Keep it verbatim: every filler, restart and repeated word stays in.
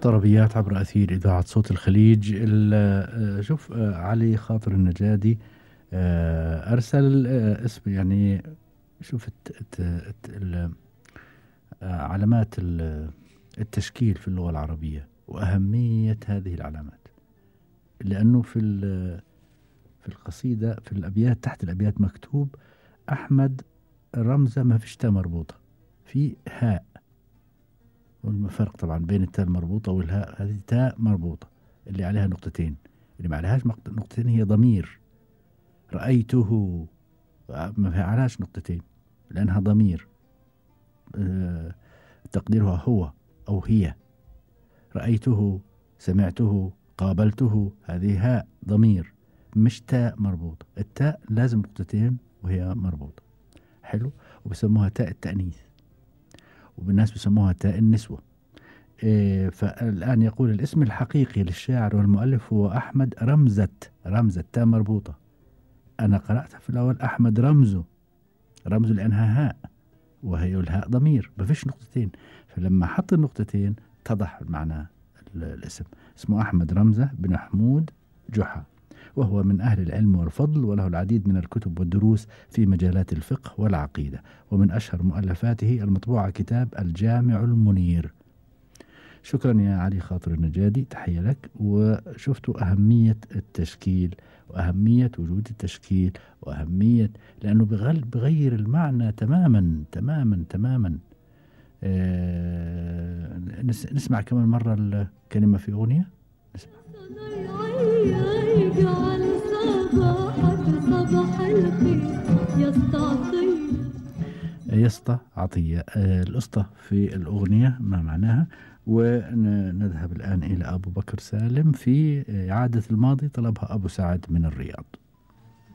طربيات عبر أثير إذاعة صوت الخليج. شوف علي خاطر النجادي أرسل اسم يعني شوف الت الت علامات التشكيل في اللغة العربية وأهمية هذه العلامات، لأنه في في القصيدة في الأبيات تحت الأبيات مكتوب أحمد رمزة ما فيش تاء مربوطة، في هاء، والفرق طبعا بين التاء المربوطة والهاء، هذه تاء مربوطة اللي عليها نقطتين، اللي ما عليهاش نقطتين هي ضمير. رأيته ما عليهاش نقطتين لأنها ضمير، أه تقديرها هو أو هي. رأيته، سمعته، قابلته، هذه هاء ضمير مش تاء مربوطة. التاء لازم نقطتين وهي مربوطة. حلو. وبسموها تاء التأنيث، وبالناس بسموها تاء النسوة. إيه فالآن يقول الاسم الحقيقي للشاعر والمؤلف هو أحمد رمزة، رمزة تاء مربوطة. أنا قرأتها في الأول أحمد رمزه، رمزه لأنها هاء وهي الهاء ضمير ما فيش نقطتين، فلما حط النقطتين اتضح معنى الاسم. اسمه أحمد رمزة بن حمود جحا، وهو من أهل العلم والفضل، وله العديد من الكتب والدروس في مجالات الفقه والعقيدة، ومن أشهر مؤلفاته المطبوعة كتاب الجامع المنير. شكرا يا علي خاطر النجادي، تحية لك. وشفتوا أهمية التشكيل وأهمية وجود التشكيل وأهمية لأنه بغير المعنى تماما تماما تماما. آه نسمع كمان مرة الكلمة في أغنية. نسمع. يسطى عطية. آه الأسطى في الأغنية ما معناها. ونذهب الآن إلى أبو بكر سالم في إعادة الماضي طلبها أبو سعد من الرياض.